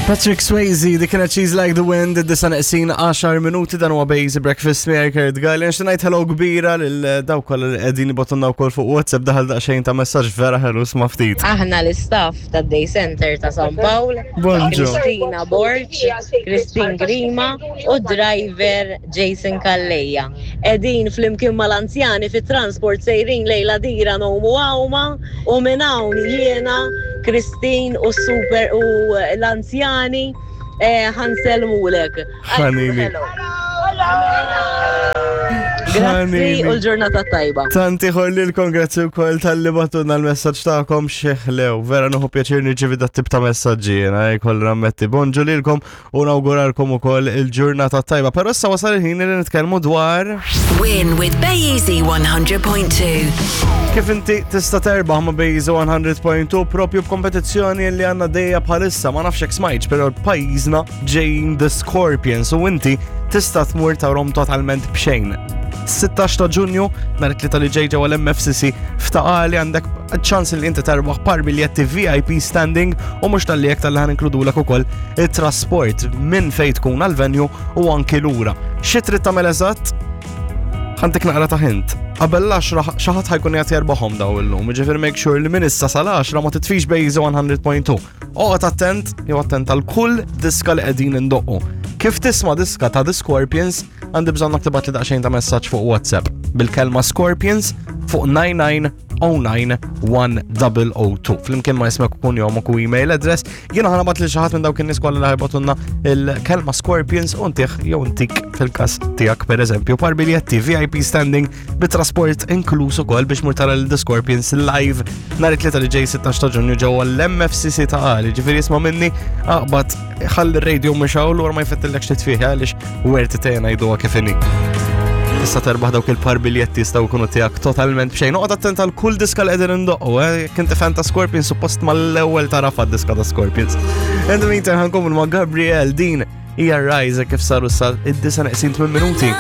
Patrick Swayze, dik kienet She's Like the Wind, id-disa neqsin 10 minuti dan huwa Basic Breakfast miegħi Kurt Gall. Nixtieq ngħid hello kbira lil dawk kollha li qegħdin ibotunna wkoll fuq WhatsApp daħal daqsxejn ta' messaġġ vera ħelu sma' ftit. Aħna l-istaff tad-Day Center ta' San Pawl, Bonġu. Kristina Borg, Christine Grima u driver Jason Calleja. Qegħdin flimkien mal-anzjani fit-transport sejrin lejn l-Għadira ngħumu għawma u minn hawn jiena, Christine u s-super u l-anzjani eh, ħa nsellmulek. Ħanini. Grazzi u l-ġurnata tajba. Tanti ħor grazzi wkoll tal-li batuna l-messaġġ tagħkom xeħlew. Vera nuħu pjaċir nirċivi dat tip ta' messaġġi jiena jkolli nammetti. Bonġu lilkom u nawguralkom ukoll il-ġurnata tajba. Però issa wasal il-ħin li nitkellmu dwar Win with Bayeasy 100.2. Kif inti tista' terbaħ ma' Bayeasy 100.2 propju b'kompetizzjoni li għandna dejja bħalissa ma nafx hekk smajtx, però pajjiżna ġejjin The Scorpions u inti tista' tmur tarhom totalment b'xejn. 16 ta' Ġunju, nhar it-Tlieta li ġej ġewwa l-MFCC f'Ta' Qali għandek ċans li inti terbaħ par biljetti VIP standing u mhux tal-li jekk tal-li ħan inkludulek ukoll it-trasport minn fejn tkun għal-venue u anki lura. Xi trid tagħmel eżatt? Ħantik naqra ta' hint. Qabel l-10 xi ħadd ħajkun qed jerbaħhom daw illum, ġifieri make sure li minn issa sal-10 ma titfix Bejza 100.2. Oqgħod attent jew attent għal kull diska li qegħdin indoqqu. Kif tisma' diska ta' The Scorpions, għandi bżonn tibgħat li daqsxejn ta' messaġġ fuq WhatsApp bil-kelma Scorpions fuq 99 091002. Flimkien ma ismek kun jomok u email address, jiena ħanabat li xaħat minn dawk in-nies kollha li ħajbatunna il-kelma Scorpions u ntih jew ntik fil-każ tiegħek pereżempju par biljetti VIP standing bit-trasport inkluż ukoll biex mur tara l-The Scorpions live nhar it-Tlieta li ġej 16 ta' Ġunju ġewwa l-MFCC ta' Qali. Ġifieri isma' minni aqbad ħalli r-radio mixawl u ma jfettillekx titfih għaliex werti tejna jduha kif inhi. Tista' terbaħ dawk il-par biljetti jistgħu jkunu tiegħek totalment b'xejn. Noqgħod attent għal kull diska li qegħdin indoqqu, eh? Jekk inti fan ta' Scorpions suppost mal-ewwel tarafa d-diska ta' Scorpions. In the meantime ħankomplu ma' Gabriel din hija Rise kif saru sa id-disa neqsin 8 minuti.